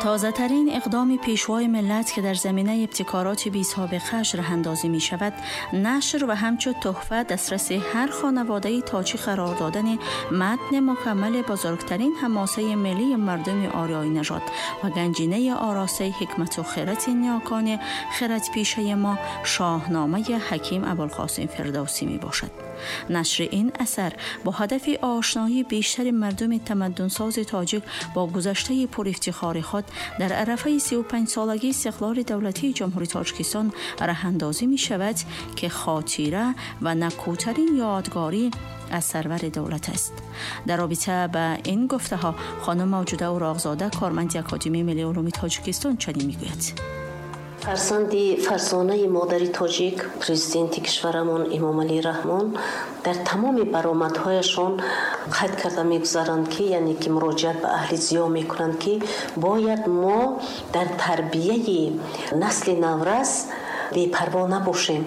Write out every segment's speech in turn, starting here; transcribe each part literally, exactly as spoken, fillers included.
تازه‌ترین اقدام پیشوای ملت که در زمینه ابتکارات بی سابقه راه اندازی می شود، نشر و همچون تحفه دسترس هر خانواده تاجی قرار دادن متن مکمل بزرگترین حماسه ملی مردم آریایی نژاد و گنجینه آراسته حکمت و خیرت نیاکان خرد پیشه ما، شاهنامه حکیم ابوالقاسم فردوسی می باشد. نشر این اثر با هدف آشنایی بیشتر مردم تمدنساز تاجیک با گذشته پر افتخار خود در عرفه سی و پنج سالگی استقلال دولتی جمهوری تاجیکستان راه اندازی می شود که خاطره و نکوترین یادگاری از سرور دولت است. در رابطه به این گفته ها خانم موجوده اوراقزاده، کارمند اکادمی ملی علوم تاجیکستان، چنین می گوید: фарзанди фарзонаи модари тоҷик, президенти кишварамон Эмомалӣ Раҳмон дар тамоми баромадҳояшон қайд карда мегузаранд, ки яъне ки муроҷиат ба аҳли зиё мекунанд, ки бояд мо дар тарбияи насли наврас бепарво набошем,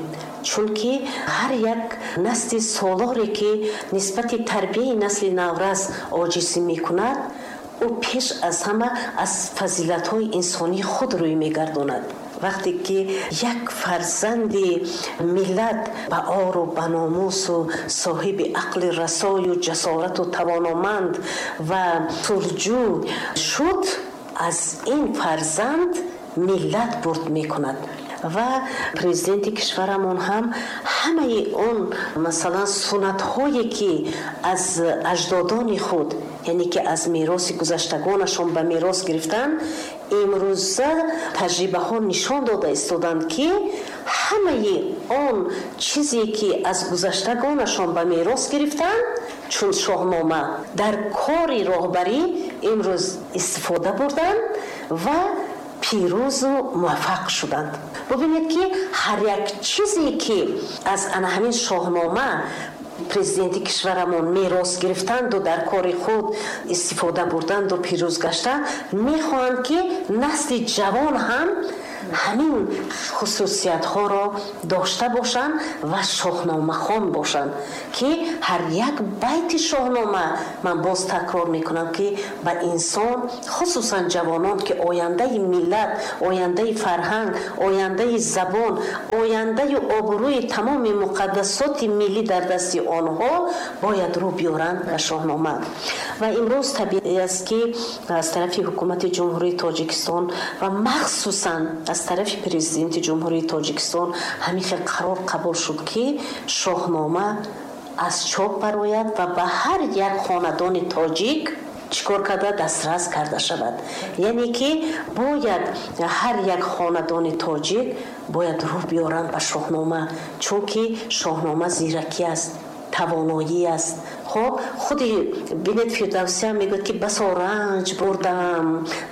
чунки ҳар як насли солоре, ки нисбати тарбияи насли наврас оҷизӣ мекунад, ӯ пеш аз ҳама аз фазилатҳои инсонии худ рӯй мегардонад. Вақте ки як фарзанди миллат ба ору ба номусу соҳиби ақли расою ҷасорату тавономанд ва сулҳҷӯ шуд, аз ин фарзанд миллат бурд мекунад. Ва президенти кишварамон ҳам ҳамаи он масалан суннатҳое, ки аз аҷдодони худ, яъне ки аз мероси гузаштагонашон ба мерос гирифтанд, имрӯза таҷрибаҳо нишон дода истоданд, ки ҳамаи он чизе, ки аз гузаштагонашон ба мерос гирифтанд, чун шоҳнома, дар кори роҳбарӣ имрӯз истифода бурданд ва пирӯзу муваффақ шуданд. Бубинед, ки ҳар як чизе, ки аз ана ҳамин шоҳнома президенти кишварамон мерос гирифтанду дар кори худ истифода бурданду пирӯз гаштанд, мехоҳанд, ки насли ҷавон ҳам ҳамин хусусиятҳоро дошта бошанд ва шоҳномахон бошанд, ки ҳар як байти шоҳнома, ман боз такрор мекунам, ки ба инсон, хусусан ҷавонон, ки ояндаи миллат, ояндаи фарҳанг, ояндаи забон, ояндаи обрӯи тамоми муқаддасоти миллӣ дар дасти онҳо, бояд рӯ биёранд ба шоҳнома. Ва имрӯз табиӣ аст, ки аз тарафи ҳукумати Ҷумҳурии Тоҷикистон ва махсусан аз тарафи президенти Ҷумҳурии Тоҷикистон ҳамин хел қарор қабул шуд, ки шоҳнома аз чоп барояд ва ба ҳар як хонадони тоҷик чӣ кор карда дастрас карда шавад. Яъне ки бояд ҳар як хонадони тоҷик бояд рӯ биёранд ба шоҳнома, чунки шоҳнома зиракӣ аст, тавоноӣ аст. Хоб, худи бинед, Фирдавсиам мегӯяд, ки басо ранҷ бурдам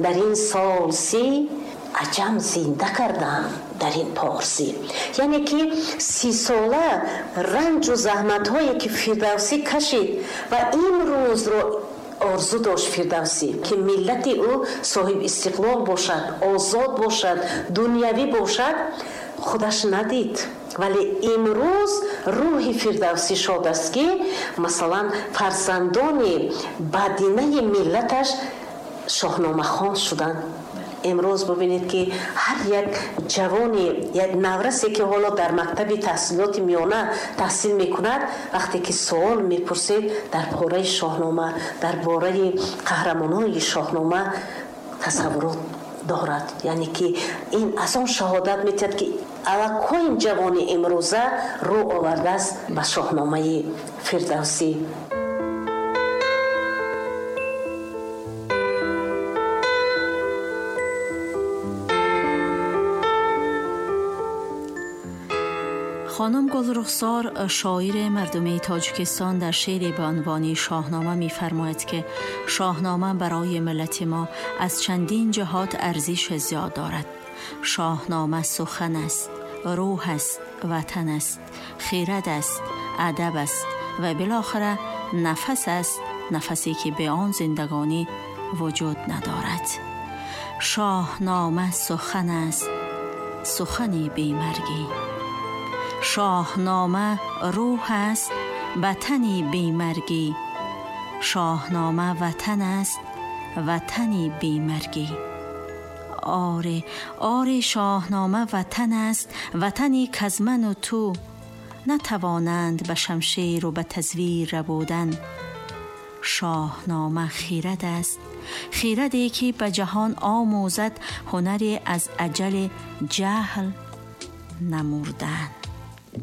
дар ин сол си, аҷам зинда кардам дар ин порсӣ. Яъне ки си сола ранҷу заҳматҳое, ки Фирдавсӣ кашид ва имрӯзро орзу дошт Фирдавсӣ, ки миллати ӯ соҳиб истиқлол бошад, озод бошад, дунявӣ бошад, худаш надид. Вале имрӯз рӯҳи Фирдавсӣ шод аст, ки масалан фарзандони бадинаи миллаташ шоҳномахон шуданд. Имрӯз бубинед, ки ҳар як ҷавони, як наврасе, ки ҳоло дар мактаби таҳсилоти миёна таҳсил мекунад, вақте ки суол мепурсед дар бораи шоҳнома, дар бораи қаҳрамонони шоҳнома, тасаввурот дорад. Яъне ки ин аз он шаҳодат медиҳад, ки аллакай ҷавони имрӯза рӯ овардааст ба шоҳномаи Фирдавсӣ. خانم گلرخسار، شاعر مردمی تاجیکستان، در شعری به عنوان شاهنامه می‌فرماید که شاهنامه برای ملت ما از چندین جهات ارزش زیاد دارد. شاهنامه سخن است، روح است، وطن است، خیرت است، ادب است و بالاخره نفس است، نفسی که به آن زندگانی وجود ندارد. شاهنامه سخن است، سخنی بی‌مرگی. شاهنامه روح است، وطنی بی‌مرگی. شاهنامه وطن است، وطنی بی‌مرگی. آره آره، شاهنامه وطن است، وطنی کز من و تو نتوانند به شمشیر و به تزویر ربودن. شاهنامه خیرد است، خیردی که به جهان آموزد هنر از اجل جهل نمردن.